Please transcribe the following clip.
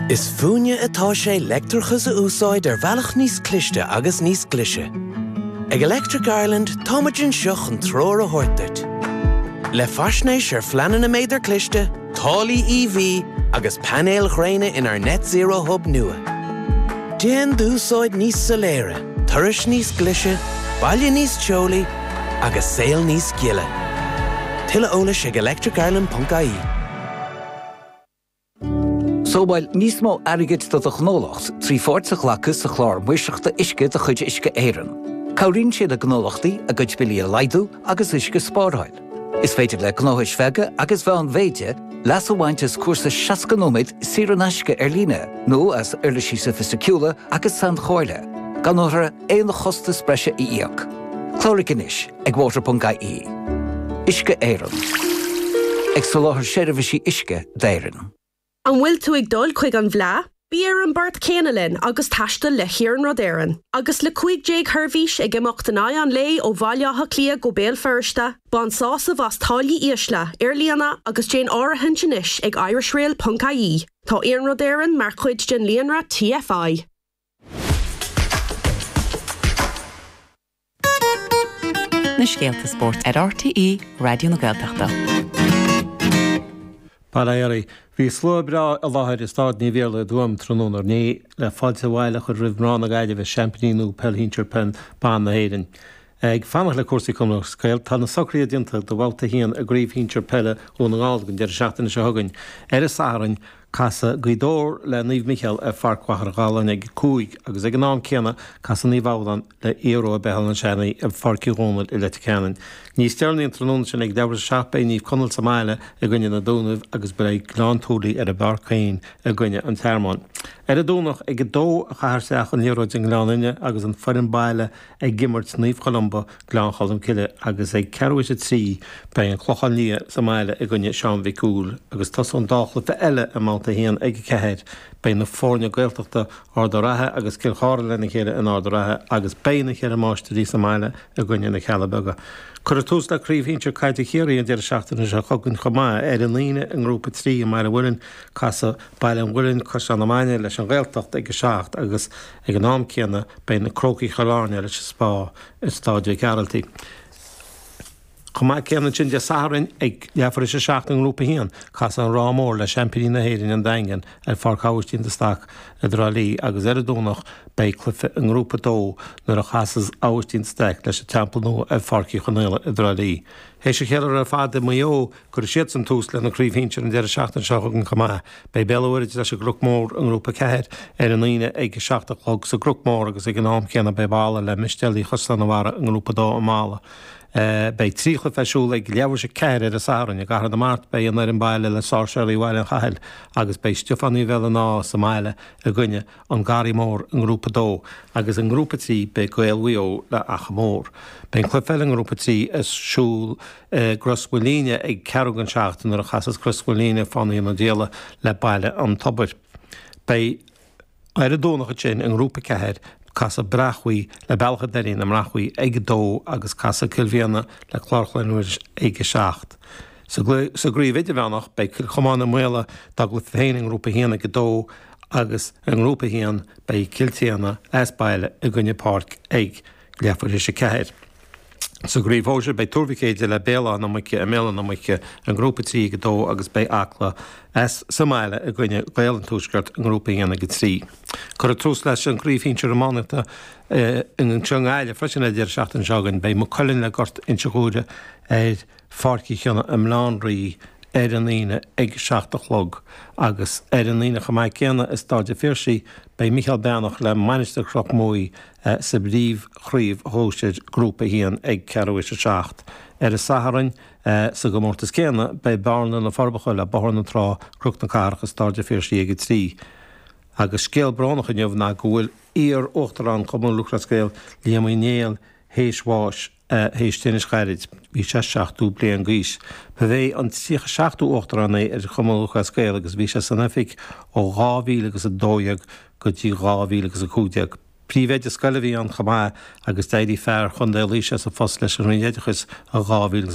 Is fúinne atá sé leictreachas a úsáid ar bhealach níos cliste agus níos glaise. Ag Electric Ireland táimid anseo chun treoir a thabhairt duit. Le faisnéis ar phleananna méadar cliste, táillí EV agus painéil ghréine inár Net Zero Hub nua. Déan d'úsáid níos soiléire, turais níos glaise, baile níos teolaí agus saol níos gile. Tuilleadh eolais ag electricireland.ie. Sábháil níos mó airgid do do ghnólacht trí pháirt a ghlacadh sa Chlár Maoirseachta Uisce de chuid Uisce Éireann. Cabhraíonn sé le gnólachtaí a gcuid billí a laghdú agus uisce a spáráil. Is féidir le gnóthais bheaga agus mheánmhéide leas a bhaint as cúrsa 60 nóiméad saor in aisce ar líne nó as uirlisí soifisticiúla agus sainchomhairle, gan orthu aon chostas breise a íoc. Cláraigh anois ag water.ie. Uisce Éireann. Ag soláthar seirbhísí uisce d'Éirinn. An bhfuil tú ag dul chuig an bhFleadh? Bí ar an bport céanna linn agus taistil le hIarnród Éireann. Agus le 15 sheirbhís ag imeacht in aghaidh an lae ó Bhaile Átha Cliath go Béal Feirste, bain sásamh as táillí ísle ar líne agus déan áirithint anois ag irishrail.ie. Tá Iarnród Éireann mar chuid den líonra TFI. Na scéalta spóirt ar RTÉ Raidió na Gaeltachta. Bail ó Dhia oraibh. Bhí slua breá i láthair i Stáid Naomh Iarlaith i dTuaim tráthnóna inné le fáilte abhaile a chur roimh mná na Gaillimhe, seaimpíní nua peil shinsir peil ban na hÉireann. Ag fanacht le cúrsaí Cumann Lúthchleas Gael, tá na socruithe déanta do bhabhta 1 i gCraobh Shinsir Peile Dhún na nGall don deireadh seachtaine seo chugainn. Ar an Satharn, Casfaidh Gaoth Dobhair le Naomh Micheál ar Pháirc Mhachaire Galláin ag 5 agus ag an am céanna casfaidh Naomh Abhadán le Aodh Rua Béal an Seanaidh i bPáirc Uí Dhónaill i Leitir Ceanainn. Níos deireanaí an tráthnóna sin ag leathuair tar éis a 7 beidh Naomh Conaill sa mbaile i gcoinne na Dúnaibh agus beidh Gleann tSúilí ar an bpáirc féin i gcoinne an Tearmáin. Ar an Domhnach ag 2 a chaithfear isteach an liathróid i nGleann Fhinne agus an foireann baile ag imirt Naomh Columba, Gleann Cholm Cille agus ag ceathrú théis 3 beidh an Clochán Liath sa mbaile i gcoinne Seán Mhic Cumhaill agus tosóidh an dá chluiche eile i mbabhta 1 ag 4. Beidh na foirne Gaeltachta Ard a' Ratha agus Cill Chartha lena chéile in Ard a' Ratha agus beidh na Ceithre Máistrí sa mbaile i gcoinne na Cealla Beaga. Cuirfear tús le Craobh Shinsir Caide Chiarraí an deireadh seachtaine seo chugainn chomh maith. Ar an Aoine i nGrúpa 3 i mBaile Mhuirinn casfaidh Baile an Mhuilinn, Caisleán na Mainge leis an Ghaeltacht ag 7 agus ag an am céanna beidh na Crócaigh Chill Airne leis an Spá i Stáid Mhic Gearailt. Chomh maith céanna ansin Dé Sathairn ag leathuair théis 7 i nGrúpa 1, casfaidh an Ráth Mór le seaimpíní na hÉireann an Daingean ar Pháirc Aibhistín de Staic i dTrá Lí agus ar an Domhnach beidh cluiche i nGrúpa 2 nuair a chasas Aibhistín de Staic leis an Teampall Nua ar Pháirc Uí Chonaola i dTrá Lí. Théis an cheiliúradh ar fad i Maigh Eo, Cuirfidh siadsan tús lena gcraobh shinsir an deireadh seachtaine seo chugainn chomh maith. Beidh Béal an Mhuirthead leis an gCnoc Mór i nGrúpa 4 ar an Aoine ag 7 a chlog sa gCnoc Mór agus ag an am céanna beidh Balla le Mistéalaigh Chaisleán an Bharraigh i nGrúpa 2 i mBalla. Beidh 3 chluiche ar siúl ag leathuair théis 4 ar an Satharn. I gCathair na Mart beidh an fhoireann baile le Sáirséalaigh Bhaile an Chathail agus beidh Stiofánaigh Bhéal an Átha sa mbaile i gcoinne An Garraí Mór i nGrúpa 2 agus i nGrúpa 3 beidh Gaeil Mhaigh Eo le Achadh Mór. Beidh an cluiche eile i nGrúpa 3 ar siúl i gCros Mhaoilíne ag ceathrú don seacht nuair a chasas Crois Mhaoilíne Fánaithe na Díola le Baile an Tobair. Beidh ar an Domhnach ansin i nGrúpa 4 casfaidh Brachmhaigh le Bealach an Doirín i mBrachmhaigh ag 2 agus casfaidh Cill Mhiadhna le Clár Chlainne Mhuiris ag 7. Sa gcraobh idirmheánach beidh Cill Chomáin i Maola dá gcluiche féin i nGrúpa 1 ag 2 agus i nGrúpa 1 beidh Cill tSéadhna as baile i gcoinne Páirc ag leathuair théis 4. Sa gcraobh shóisir beidh Tuar Mhic Éide le Béal Átha na Muice i mBéal Átha na Muice i nGrúpa 3 ag 2 agus beidh Acla as sa mbaile i gcoinne Gaeil an Tuaiscirt i nGrúpa 1 ag 3. Cuirfear tús leis an gcraobh shinsir iománaíochta anseo i nGaillimh freisin ar an deireadh seachtaine seo chugainn. Beidh Maigh Cuilinn le Gort Inse Ghuaire ar Pháirc Uí Chionnaith i mBaile Átha an Rí ar an Aoine ag 7 a chlog agus ar an Aoine chomh maith céanna i Stáid an Phiarsaigh beidh Micheál Breathnach le Mainistir Chnoc Muaidhe sa bpríomhchraobh shóisir Grúpa 1 ag ceathrú théis 7. Ar an Satharn sa gcomórtas céanna beidh Bearna na Forbacha le Bóthar na Trá, Cnoc na Cathrach i Stáid an Phiarsaigh ag 3. Agus scéal brónach inniu ná go bhfuil iar-Uachtarán Chumann Lúthchleas Gael, Liam Uí Néill, théis bháis théis tinnis ghairid. Bhí sé 70 bliain d'aois. Ba é an 37ú Uachtarán é ar Chumann Lúthchleas Gael agus bhí sé san oifig ó 2012 go dtí 2015. Príomhoide scoile a bhí ann chomh maith agus d'éirigh fear Chontae Laoise as a phost leis an Roinn Oideachais i 2000.